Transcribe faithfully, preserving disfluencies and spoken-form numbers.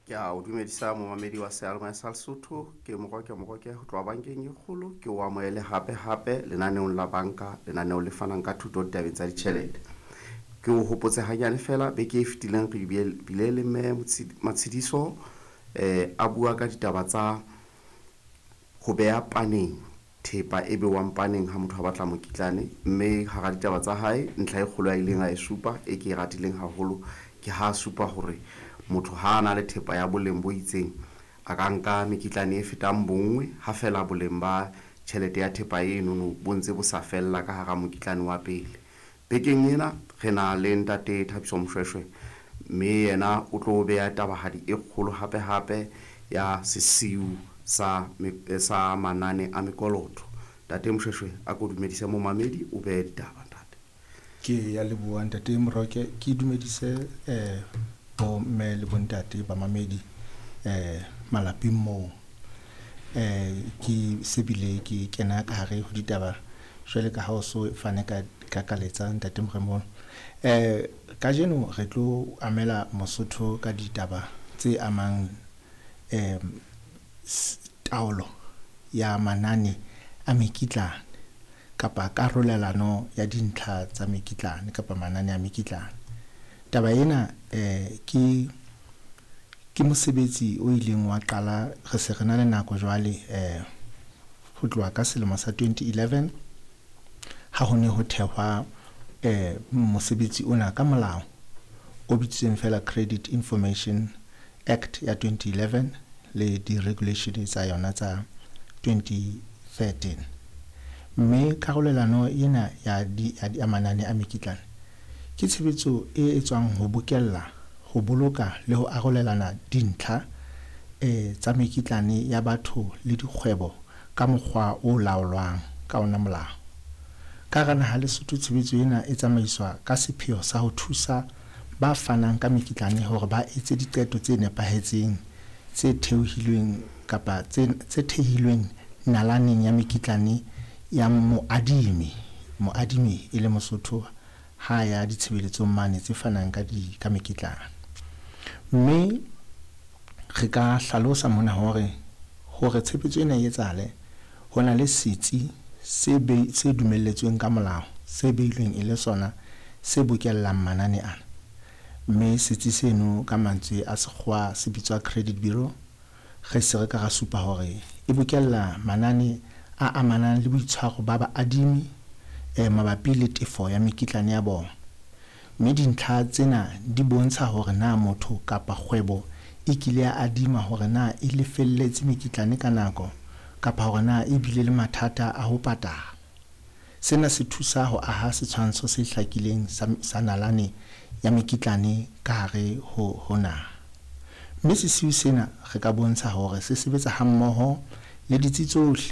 Ke a o dumedisa momamedi wa seyalemoya sa Lesotho. Ke Moroke Moroke ho tloha bankeng e kgolo. Ke o amohele hape hape lenaneong la banka, lenaneo le fanang ka thuto ditabeng tsa ditjhelete. Ke o hopotse hanyane fela beke e fetileng re bile le mme Matshidiso eh a bua ka ditaba tsa ho beha paneng thepa e bewang paneng ha motho a batla mokitlane, mme hara ditaba tsa hae ntlha e kgolo a ileng a e supa e ke e ratileng haholo ke ha a supa hore motho ha a na le thepa ya boleng bo itseng a ka nka mekitlane e fetang bonngwe ha fela boleng ba tjhelete ya thepa enono bo ntse bo sa fella ka hara mokitlane wa pele. Bekeng ena re na le ntate Thabiso Moshweshwe, mme yena o tlo beha tabahadi e kgolo hape hape ya sesiu sa sa manane a mekoloto. Ntate Moshweshwe, a ko dumedise momamedi, o behe ditaba ntate. Ke ya leboha ntate Moroke, ke dumedise eh bo mme le bontate ba mamedi eh malapeng moo. Eh ke sebile ke kena ka hare ho ditaba jwale ka ha o so fane ka ka kaletsa ntate Moremolo. Eh kajeno re tlo amela Mosotho ka ditaba tse amang eh taolo ya manane a mekitlane kapa karolelano ya dintlha tsa mekitlane kapa manane a mekitlane. Taba ena eh ke ke mosebetsi o ileng wa qala re se re na le nako jwale eh ho tloha ka selemo sa twenty eleven ha ho ne ho thehwa eh mosebetsi ona ka molao o bitsweng fela Credit Information Act ya twenty eleven le di-regulation tsa yona tsa twenty thirteen. Mme karolelano ena ya di ya manane a mekitlane ke tshebetso e etswang ho bokella, ho boloka le ho arolelana dintlha eh tsa mekitlane ya batho le dikgwebo ka mokgwa o laolwang ka ona molao. Ka hara naha Lesotho tshebetso ena e tsamaiswa ka sepheo sa ho thusa ba fanang ka mekitlane hore ba etse diqeto tse nepahetseng tse theohilweng kapa tse tse thehilweng nalaneng ya mekitlane ya moadimi, moadimi e le Mosotho ha ya ditshebeletsong mane tse fanang ka di ka mekitlane. Mme re ka hlalosa mona hore hore tshebetso ena e etsahale ho na le setsi se be se dumelletsweng ka molao se beilweng e le sona se bokellang manane ana. Mme setsi seno ka mantswe a sekgowa se bitswa credit bureau. Re se re ka ra supa hore e bokella manane a amanang le boitshwaro ba baadimi eh mabapi le tefo ya mekitlane ya bona. Mme dintlha tsena di bontsha hore na motho kapa kgwebo e kile ya adima hore na e lefelletse mekitlane ka nako kapa hore na e bile le mathata a ho patala. Sena se thusa ho aha setshwantsho se hlakileng sa, sa nalane ya mekitlane ka hare ho, ho naha. Mme sesiu sena re ka bontsha hore se sebetsa hammoho le ditsi tsohle